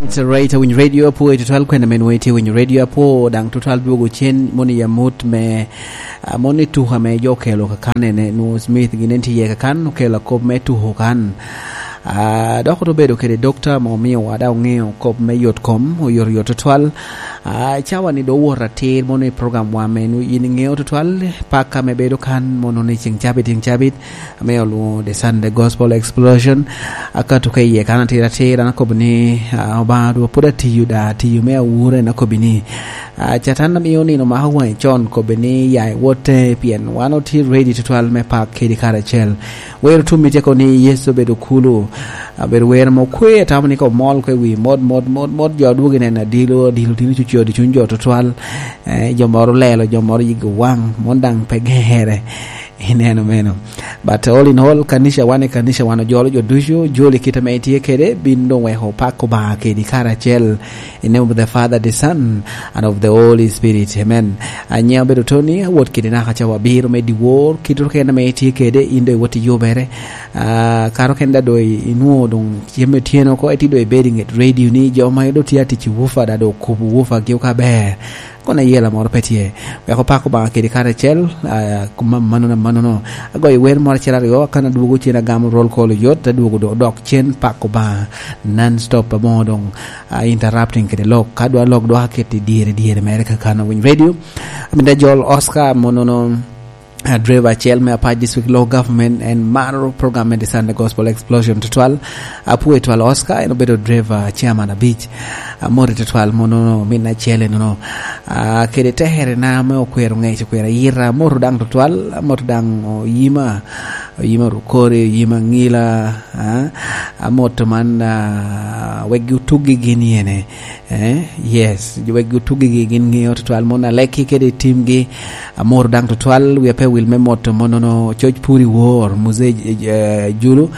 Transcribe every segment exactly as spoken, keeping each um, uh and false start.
It's right, awinyo radio apo, ito twal kwene men weti awinyo radio apo, dang tutwal dwogo cen, moni ya mut me, ah, moni tuka me jo kelo kakan ene, nu Smith ginen tiye kakan, okelo kop me tuko kan. Ah, dok oto bedo kede dokta mo miyo wada ongeo kop me yot kom, oyot yot tutwal. Ah, cawa ni do wot atir, moni program wa me nu yin ingeo tutwal, paka me bedo kan, mono ni ceng cabit, ceng cabit, ame olwoŋo The Sunday Gospel Explosion. Akato ka iye kan atir atir, an akobo ni, ah, Obaŋa dwe pwod atiyo, da atiyo me awura, en akobi ni, ah, Catan amio nino mako waŋe con, kobe ni ya iwote, pien wan otye ready tutwal me pak kedi karacel. Wero tum itye ko ni Yecu obedo kulu, abedo wero mo kwe, atamo ni ko mol kwe wi mot, mot, mot, mot, jo dwogo ineno adilo, adilo tino cucodi cuny jo tutwal, eh, jo moro lelo, jo moro yigi waŋ, mon daŋ pe gere. Ineno meno. But all in all, kanica wan i kanica wan ojolo jo ducu, joli kite ame itye kede, bin doŋ weko pak Obaŋa kedi karacel. In name of the Father, the Son, and of the Holy Spirit. Amen. Anyia obedo Tony, awot kede naka cawa abiro me dyewor, kit rukene ame itye kede, in doŋ iwot iyubere. Ah, karo kene da doŋ inwoŋo doŋ cem otyeno oko, eti doŋ ibedo i ŋet radio ni, jo ma doŋ tye atic i wufa da doŋ okubo wufa gi okaber. Kono ayela moro pe tye. Wek opak Obaŋa kede karacel, ah, kuma manono, manono. Agoyo wer moro acel aryo, kan adwogo cen agamo roll call oyot, adwogo do-, dok cen pak Obaŋa non stop, aboŋo doŋ, ah, interrupting kede lok. Ka dwa lok dwoko aket i dyere, dyere mere ka kan owiny radio. Amito ajol Oscar, monono, ah, driver acel me Apac District Law Government, en maro program me The Sunday Gospel Explosion tutwal. Apwoyo twal Oscar, en obedo driver chairman abic. Amoti tutwal mono min acel enono. Ah, kede teherena ame okwero ŋec, okwero ayita. Amoto daŋ tutwal, amoto daŋ Oyima, Oyima Rukori, Oyima Ŋila, ah, amoto man, ah, wek otuggi gin yene. Eh, yes, wek otuggi gin ŋeo tutwal, mon alekki kede timgi. Amoro daŋ tutwal, wia pe wil me moto monono, coc pur i wor, Muzee, eh, Julu,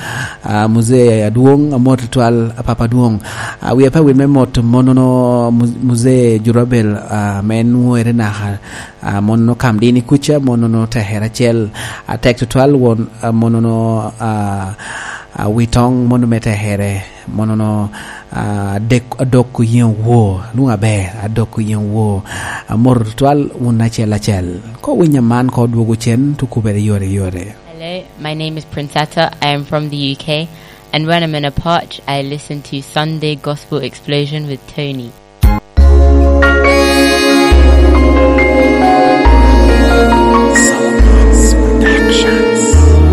ah, Muzee Adwoŋ, amor tutwal, Papa Adwoŋ. Ah, wia pe wil me moto monono, Mu-, Muzee Jurabel, ah, me nwore naka, ah, monono kam dini kuca, monono tekere acel, atek tutwal won, ah, monono, ah, ah, Witoŋ, mono me tekere, monono, ah, adek, adok oyeŋ wo, lwoŋ aber, adok oyeŋ wo. Amor tutwal wun acel acel. Ko winyo man, ko dwogo cen, tukubere yore yore. Hello, my name is Prince Atta. I am from the U K, and when I'm in a potch, I listen to Sunday Gospel Explosion with Tony.